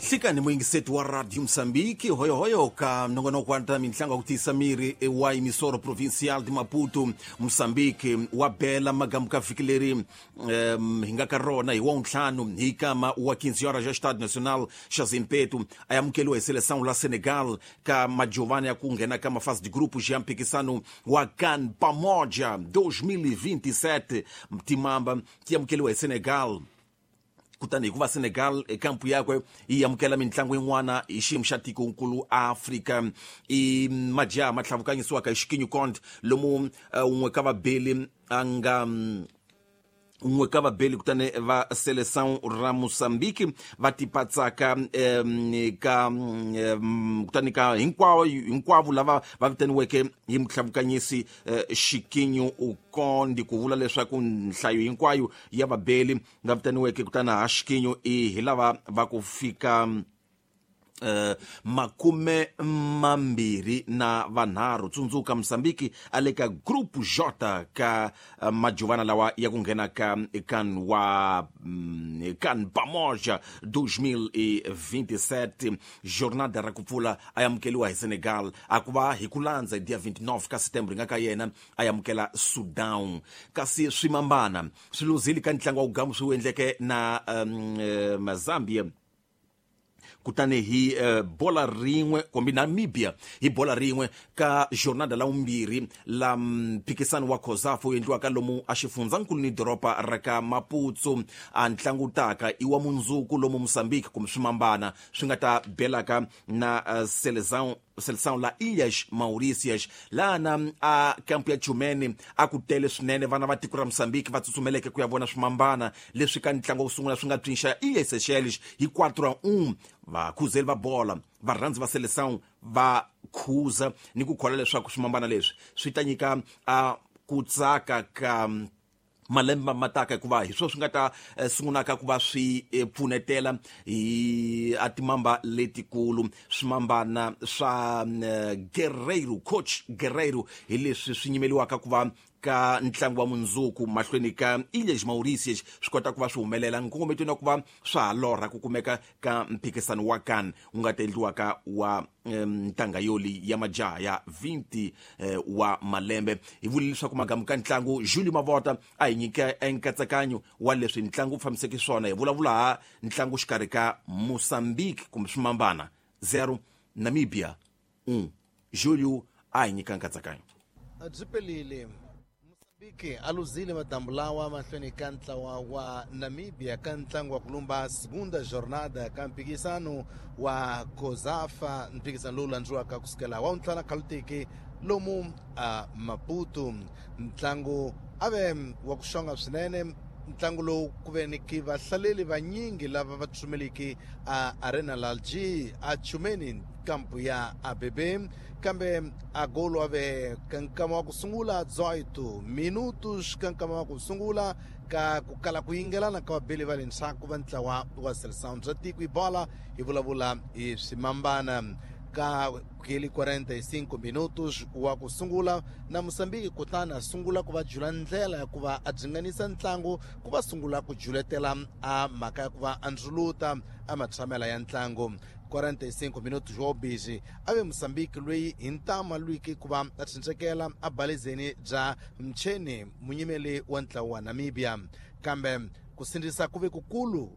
Nhlikani muyingiseti wa Radio Moçambique, hoyohoyo ka nongonoko wa ta mintlangu ya ku tiyisa miri wa Emissora Provincial de Maputo, Moçambique. Wa bela magamu ka vhiki leri hi nga ka rona hi wawuntlhanu hi kama wa 15 horas ya Estado Nacional xa Zimpeto a amukeliwa hi Seleção la Senegal ka majovani ya ku nghena ka mafase de grupos ya mphikisano wa CAN Pamoja 2027. Timamba ti amukeliwa hi Senegal, kutani hikuva Senegal ekampu yakwe yi amukela mitlangu yin'wana hi xiyimo xa tikonkulu Afrika, i majaha ma tlhavukanyisiwaka hi Xikinyu Cont, lomu un'we ka vabeli a nga un'we ka vabeli kutani va Seleção ra Mozambique va tipatsaka ka kutani ka hinkwavo hinkwavo lava va vitaniweke hi mutlhavukanyisi Xikinyu Ukondi, ku vula leswaku nhlayo hinkwayo ya vabeli nga vitaniweke kutani ha Xikinyu i hi lava va ku fika 23. Tsundzuka, Mozambique a le ka Group J ka majovana lawa ya ku nghena ka kan wa kan Pamoja 2027. Jornada ra ku pfula a amukeliwa hi Senegal, a ku va hi ku landza hi dia 29 ka September nga ka yena a amukela Sudan. Kasi swimambana swi luzile ka ntlangu wa wugamu swi wu endleke na Zambia, kutani hi bola rin'we, kumbe Namibia hi bola rin'we, ka jornada la vumbirhi la mphikisano wa COSAFA wu endliwaka lomu a xifundzankulu ni doroba ra ka Maputo. A ntlangu taka i wa mundzuku, lomu Mozambique kumbe swimambana swi nga ta belaka na Seleção la Ilhas Mauritius. Lana a kampu ya Chumene a ku tele swinene vana va tiko ra Mozambique va tsutsumeleke ku ya vona swimambana leswi ka ntlangu wa ku sungula swi nga pfinxa Ilhas Seychelles hi 4-1. Vakhuzeli va bola, varhandzi va Seleção va khuza ni ku kholwa leswaku swimambana leswi swi ta nyika a ku tsaka ka malembe ma taka, hikuva hi swona swi nga ta sungulaka ku va swi pfunetela hi a timamba letikulu. Swimambana swa Guerreiro, coach Guerreiro, hi leswi swi nyimeliwaka ku va ka ntlangu wa mundzuku mahlweni ka Ilhas Mauritius swi kota ku va swi humelela nkongometweni wa ku va swa ha lorha ku kumeka ka mphikisano wa CAN wu nga ta endliwaka wa ntanga yoli ya majaha ya 20 wa malembe. Hi vule leswaku magamu ka ntlangu, Julio Mavota a hi nyika enkatsakanyo wa leswi ntlangu wu fambiseke swona. Hi vulavula ha ntlangu xikarhi ka Mozambique kumbe swimambana 0, Namibia 1. Julio a hi nyika nkatsakanyo. Byi pelile, Mozambique a luzile madambu lawa mahlweni ka ntlawa wa Namibia ka ntlangu wa kulumba segunda jornada ka mphikisano wa COSAFA, mphikisano lowu landziwaka kusukela wa wuntlhanu khalutiki lomu a Maputo. Ntlangu a ve wa ku xonga swinene, ntlangu lowu ku ve ni ki vahlaleli vanyingi lava va tsutsumeliki a Arena Lalji a Chumeni, kampu ya ABB, kambe a golo a ve ka nkama wa ku sungula 18 minutos ka nkama wa ku sungula ka ku kala ku yingelana ka vabeli va le ndzhaku va ntlawa wa Seleção bya tiko hi bola, hi vulavula hi swimambana. Ka keli 45 minutos wa ku sungula na Mozambique kutani a sungula ku va jula ndlela ya ku va a dzinganisa ntlangu, ku va sungula ku juletela a mhaka ya ku va a ndzuluta a matshamela ya ntlangu. 45 minutos wa busy a ve Mozambique loyi hi ntama lwiki ku va a tshunxekela a balezeni bya mcheni munyimeli wa ntlawa wa Namibia, kambe ku sindzisa ku ve kukulu.